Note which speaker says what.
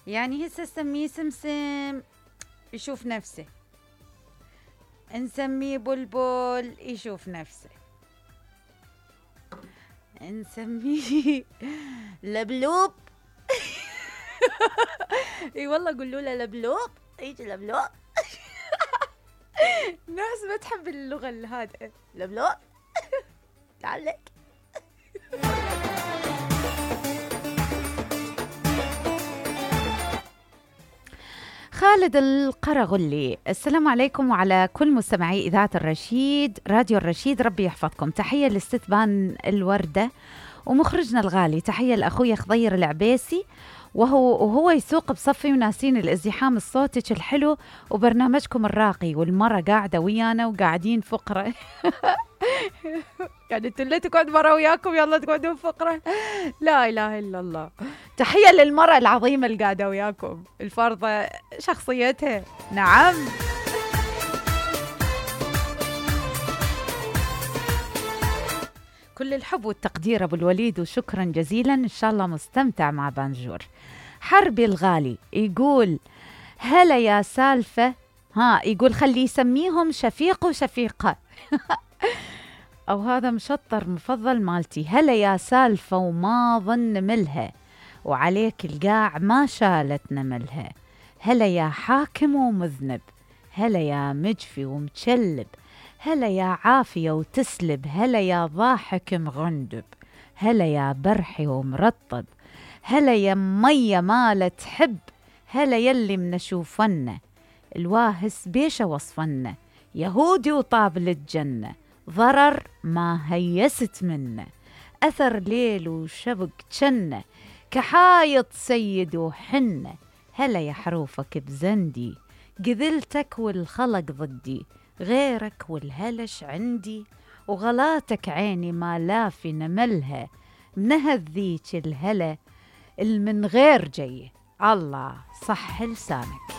Speaker 1: يعني هسه نسميه سمسم يشوف نفسه، نسميه بلبل يشوف نفسه، نسميه لبلوب. اي والله قولوا له لبلوب، يجي لبلوب. ناس ما تحب اللغة الهادئة. لبلوب تعال. خالد القرغلي، السلام عليكم وعلى كل مستمعي إذاعة الرشيد، راديو الرشيد، ربي يحفظكم. تحية لاستثبان الوردة ومخرجنا الغالي، تحية لأخوي خضير العبيسي وهو يسوق بصفي وناسين الازدحام الصوتي الحلو وبرنامجكم الراقي، والمرة قاعدة ويانا وقاعدين فقرة. يعني انتوا اللي تقعد مرة وياكم يلا تقعدون فقرة، لا إله إلا الله. تحية للمرأة العظيمة اللي قاعدة وياكم، الفرضة شخصيتها. نعم. كل الحب والتقدير أبو الوليد، وشكرا جزيلا، إن شاء الله مستمتع مع بانجور. حربي الغالي يقول هلا يا سالفة، يقول خلي يسميهم شفيق وشفيقة. أو هذا مشطر مفضل مالتي. هلا يا سالفة وما ظن ملها، وعليك القاع ما شالت نملها. هلا يا حاكم ومذنب، هلا يا مجفي ومتشلب، هلا يا عافية وتسلب، هلا يا ضاحك مغندب، هلا يا برحي ومرطب، هلا يا مية ما تحب، هلا يلي منشوفنا الواهس بيش وصفنا، يهودي وطابل الجنة ضرر ما هيست منه، أثر ليل وشبك جنة كحايط سيد وحنة. هلا يا حروفك بزندي، قذلتك والخلق ضدي، غيرك والهلش عندي، وغلاتك عيني ما لافي نملها، منهذ ذيك الهلا المن غير جيه. الله صح لسانك.